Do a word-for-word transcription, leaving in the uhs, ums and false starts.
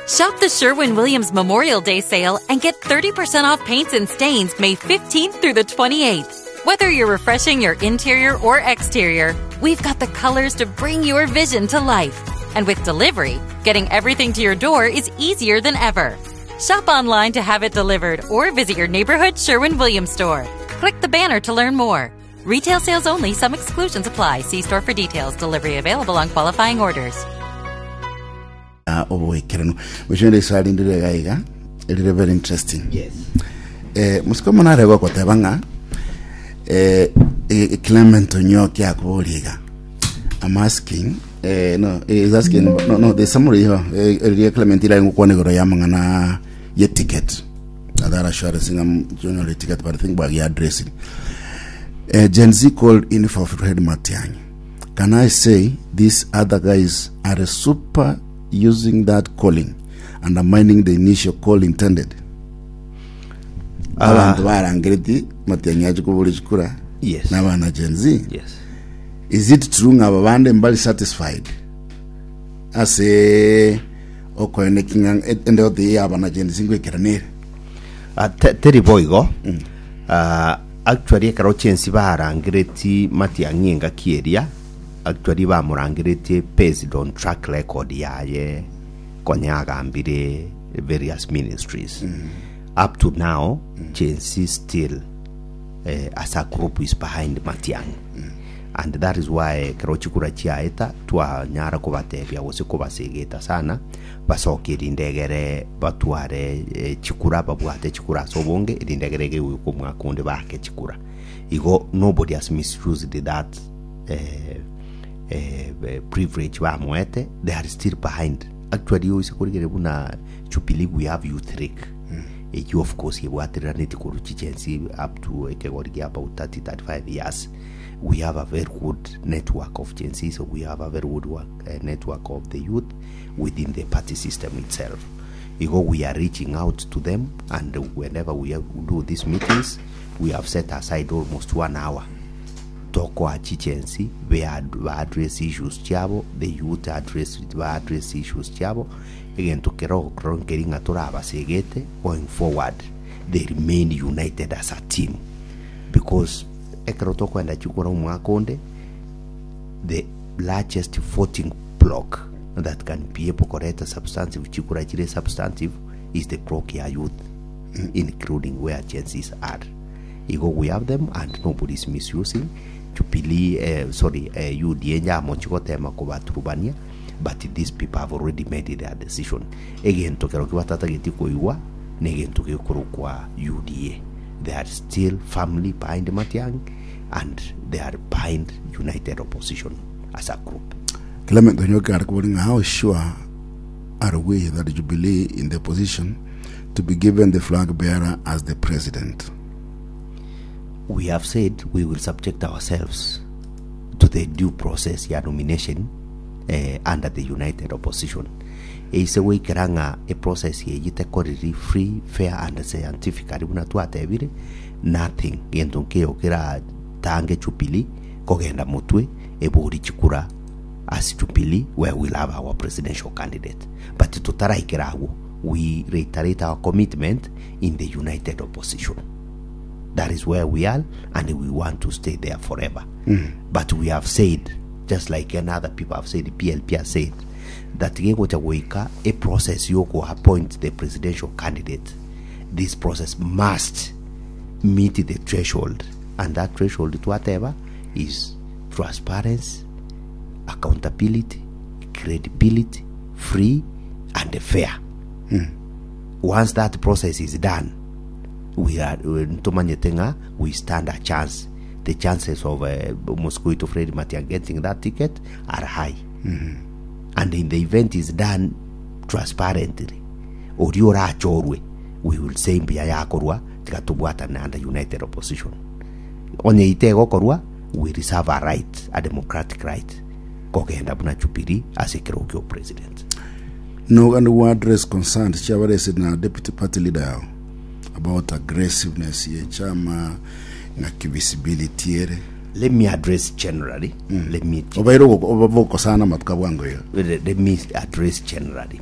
Shop the Sherwin Williams Memorial Day sale and get thirty percent off paints and stains May fifteenth through the twenty-eighth. Whether you're refreshing your interior or exterior, we've got the colors to bring your vision to life. And with delivery, getting everything to your door is easier than ever. Shop online to have it delivered or visit your neighborhood Sherwin Williams store. Click the banner to learn more. Retail sales only, some exclusions apply. See store for details. Delivery available on qualifying orders. Oboikeranu mwisho iswali ndire gaiga rire very interesting. Yes. eh musiko manare gokoteba ng'a eh, eh, Clement Onyoki akuboriga, I'm asking, eh, no, is asking, no no there's somebody here, eh, ria Clement ila ngukwana igoro ya mang'ana ye ticket that assurance ng'am junior ticket, but I think bagi addressing uh, Gen Z called in for Fred Matiang'i. Can I say these other guys are super using that calling, undermining the initial call intended? Abantu barangereti Matiang'i aje kubura chikura Yes. n'abana Gen Z. Yes. Is it true ng'aba bande mbali satisfied ase okoenekinga ende ote yabana Gen Z ngwekeranere? Uh, te, teri boigo mm. uh, actually ekero Gen Z barangereti Matiang'i engaki eria, actually bamurangeretie based on track record yaye konya agambire various ministries mm. Up to now mm. Gen Z still eh, as a group is behind Matiang'i mm. And that is why ekero chikura chiaeta twanyara kobatebia gose kobasegeta sana basoke erindegere batware eh, chikura babwate chikura ase obonge erindegere gegoika omwaka onde bake chikura. Igo nobody has misused that eh, eh, eh, privilege bamoete. They are still behind. Actually, oise korigere buna Jubilee, we have youth league eyo of course ebwatereraneti korwa chi Gen Z up to ekegori gia about thirty thirty-five years. We have a very good network of Gen Z, so we have a very good work, uh, network of the youth within the party system itself. Igo we are reaching out to them, and whenever we have, do these meetings, we have set aside almost one hour tokoa chi Gen Z ba address issues chiabo, the youth address ba address issues chiabo. Egento kero kero nkeri ng'a torabasegete going forward they remain united as a team, because ekero tokwenda chikura omwaka onde, the largest voting block that can be able koreta substantive chikura chire substantive is the block ya youth, including where Gen Zs are. Igo we have them and nobody is misusing Jubilee, uh, sorry, uh, U D A nyamo chigotema kubaturubania, but these people have already made their decision. Egento kero kibatatageti koigwa negento gekorokwa U D A. They are still firmly behind Matiang'i and they are behind united opposition as a group. Clement Onyoki ari ng'a how sure are we that Jubilee in the opposition to be given the flag bearer as the president? We have said we will subject ourselves to the due process ya nomination eh, under the united opposition. Eise gwikera ng'a e process eye tekoriri free, fair and scientifically buna twatebire, nothing gento nkeyo keratange Jubilee kogenda motwe ebori chikura as Jubilee, where we'll have our presidential candidate. But tutaraikera agwo, we reiterate our commitment in the united opposition. That is where we are, and we want to stay there forever. But we have said, just like any other people have said, the P L P has said, that gegocha goika a process yoko appoint the presidential candidate. This process must meet the threshold, and that threshold to whatever is transparency, accountability, credibility, free and fair. Once that process is done, we are ntumanyete ng'a we stand a chance. The chances of uh, Mosquito Fred Matiang'i getting that ticket are high. And in the event is done transparently, ori orachorwe, we will say mbia yakorwa tigatubwatana under united opposition. Onye itegokorwa, we reserve a right, a democratic right, kogenda buna Jubilee ase ekero kio president. No, and we address concerns chiabarese na deputy party leader yao about aggressiveness ye chama ng'aki visibility ere. Let me address generally. Let me obaire obokosana matuka bwango iyo. Let me address generally.